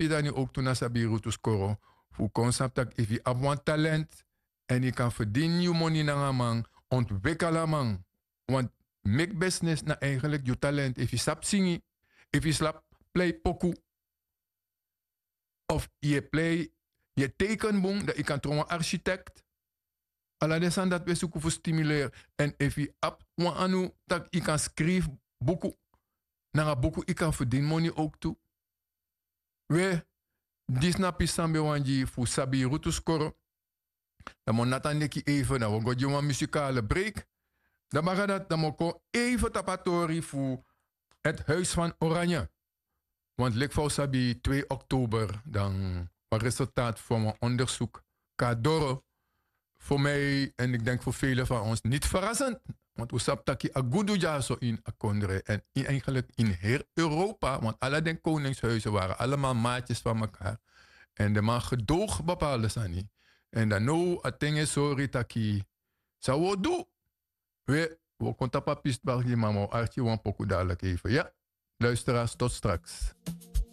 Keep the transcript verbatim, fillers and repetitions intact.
pidani ouk tu na sabi rutu skoro, fu kon sabi tak' efu yu abi wan talent èn yu kan ferdini yu moni nanga a man, ontwekeli a man. Want meki besnes na eigenlik yu talent. Efu yu sabi singi, efu yu sabi plei poku, of yu e plei, yu e teken bun, dan yu kan tron wan architekt. Ala den sani dati wi e suku fu stimuleri. Èn efu yu abi wan anu tak' yu kan skrifi buku, nanga buku yu kan ferdini moni ouk tu. We, disi na pisi san mi ben wani gi fu sabi rutu skoro. Dan mi o nati a neki eive, dan wi o go gi wan musikale breik. Dan baka dati dan mi o kon eive tapu a tori fu het huis van Oranje. Want leki fa wi sabi twee oktober dan wan resultaat fu wan ondersuk kon na doro. Voor mij en ik denk voor velen van ons niet verrassend. Want wi sabi taki a gudu dyaso ini a kondre en in eigenlijk in heel Europa, want ala den koningshuizen waren allemaal maatjes van mekaar. En de man gedoog bepaalde sani. En dan now a ten e sori taki san wi o du. We, wi o kon tapu a pisi baka gi, ma mi o arki wan poku dadelijk even. Ya, luisteraars, tot straks.